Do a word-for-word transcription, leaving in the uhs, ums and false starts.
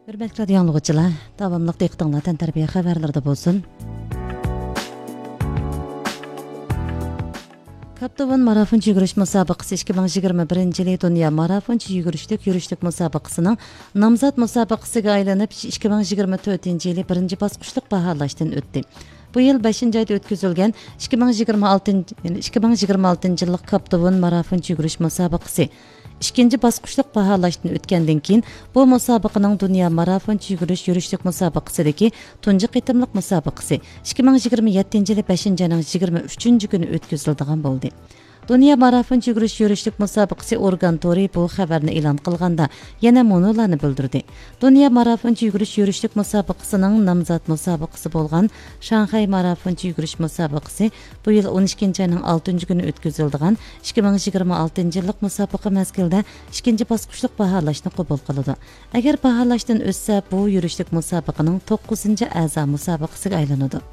ھۆرمەتلىك رادىيو ئاڭلىغۇچىلار، داۋاملىق دىققىتىڭلار تەنتەربىيە خەۋەرلىرىدە بولسۇن. كاپتون مارافونچە يۈگۈرۈش مۇسابىقىسى ئىككى مىڭ يىگىرمە بىرىنچى يىلى دۇنيا مارافونچە يۈگۈرۈشلۈك يۈرۈشلۈك مۇسابىقىسىنىڭ نامزات مۇسابىقىسىگە ئايلىنىپ، ئىككى مىڭ يىگىرمە تۆتىنچى يىلى بىرىنچى باسقۇچلۇق باھالاشتىن ئۆتتى. بۇ يىل بەشىنچى ئايدا ئۆتكۈزۈلگەن ئىككى مىڭ يىگىرمە ئالتىنچى، ئىككى مىڭ يىگىرمە ئالتىنچى يىللىق كاپتون مارافونچە يۈگۈرۈش مۇسابىقىسى ئىككىنچى باسقۇچلۇق باھالاشتىن ئۆتكەندىن كېيىن، بۇ مۇسابىقىنىڭ دۇنيا مارافونچە يۈگۈرۈش يۈرۈشلۈك مۇسابىقىسىدىكى تۇنجى قېتىملىق مۇسابىقىسى ئىككى مىڭ يىگىرمە يەتتىنچى يىلى بەشىنچى ئاينىڭ يىگىرمە ئۈچىنچى كۈنى ئۆتكۈزۈلىدىغان بولدى. دۇنيا مارافونچە يۈگۈرۈش يۈرۈشلۈك مۇسابىقىسى ئورگان تورى بۇ خەۋەرنى ئېلان قىلغاندا، يەنە مۇنۇلارنى بىلدۈردى. دۇنيا مارافونچە يۈگۈرۈش يۈرۈشلۈك مۇسابىقىسىنىڭ نامزات مۇسابىقىسى بولغان شاڭخەي مارافونچە يۈگۈرۈش مۇسابىقىسى بۇ يىل ئون ئىككىنچى ئاينىڭ ئالتىنچى كۈنى ئۆتكۈزۈلىدىغان ئىككى مىڭ يىگىرمە ئالتىنچى يىللىق مۇسابىقە مەزگىلىدە ئىككىنچى باسقۇچلۇق باھالاشنى قوبۇل قىلىدۇ. ئەگەر باھالاشتىن ئۆتسە، بۇ يۈرۈشلۈك مۇسابىقىنىڭ توققۇزىنچى ئەزا مۇسابىقىسىگە ئايلىنىدۇ.